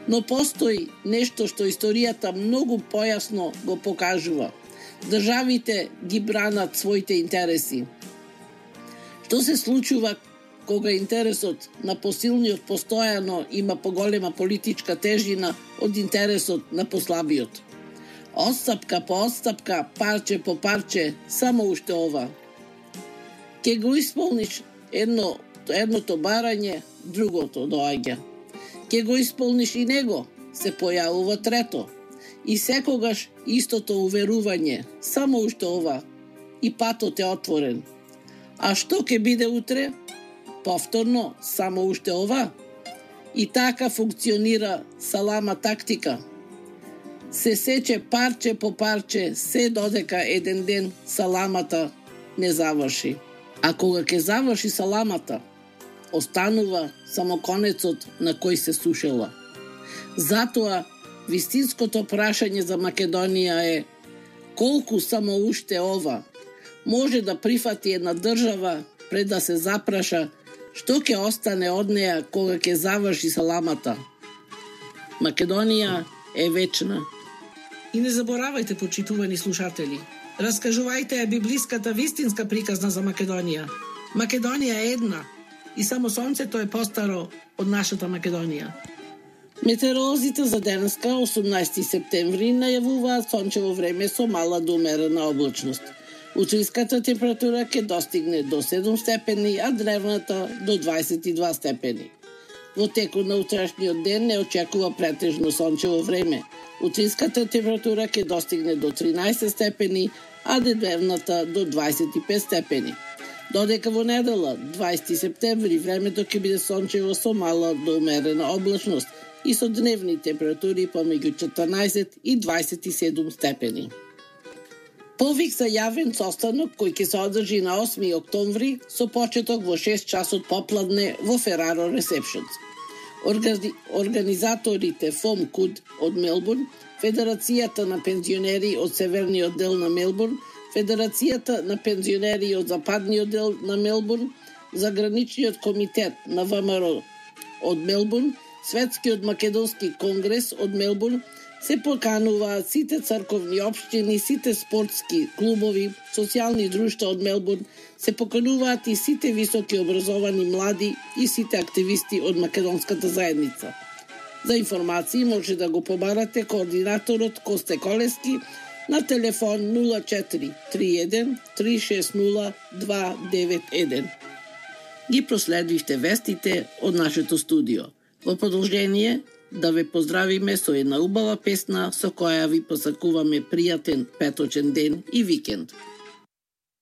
Но постои нешто што историјата многу појасно го покажува. Државите ги бранат своите интереси. Што се случува кога интересот на посилниот постојано има поголема политичка тежина од интересот на послабиот? Отстапка по отстапка, парче по парче, само уште ова. Ке го исполниш едното барање, другото доаѓа. Ке го исполниш и него, се појавува трето. И секогаш истото уверување, само уште ова. И патот е отворен. А што ќе биде утре? Повторно, само уште ова. И така функционира салама тактика. Се сече парче по парче, се додека еден ден саламата не заврши. А кога ќе заврши саламата, останува само конецот на кој се сушела. Затоа, вистинското прашање за Македонија е колку само уште ова може да прифати една држава пред да се запраша што ќе остане од неа кога ќе заврши саламата. Македонија е вечна. И не заборавајте, почитувани слушатели, раскажувајте ја библиската вистинска приказна за Македонија. Македонија е една и само сонцето е постаро од нашата Македонија. Метеоролозите за денеска, 18 септември, најавуваат сончево време со мала до умерена облачност. Утринската температура ќе достигне до 7 степени, а дневната до 22 степени. Во текот на утрашниот ден не очекува претежно сончево време. Утринската температура ќе достигне до 13 степени, а дневната до 25 степени. Додека во недела, 20 септември, времето ќе биде сончево со мала до умерена облачност и со дневни температури помеѓу 14 и 27 степени. Повик за јавен состанок кој ќе се одржи на 8 октомври со почеток во 6 часот попладне во Фераро Ресепшнс. Организаторите ФОМ КУД од Мелбурн, Федерацијата на пензионери од северниот дел на Мелбурн, Федерацијата на пензионери од западниот дел на Мелбурн, Заграничниот комитет на ВМРО од Мелбурн, Светскиот македонски конгрес од Мелбурн, се покануваат сите црковни општини, сите спортски клубови, социјални друштва од Мелбурн, се покануваат и сите високи образовани млади и сите активисти од македонската заедница. За информации може да го побарате координаторот Косте Колески на телефон 04 31 360 291. Ги проследивте вестите од нашето студио. Во продолжение, да ве поздравиме со една убава песна со која ви посакуваме пријатен петочен ден и викенд.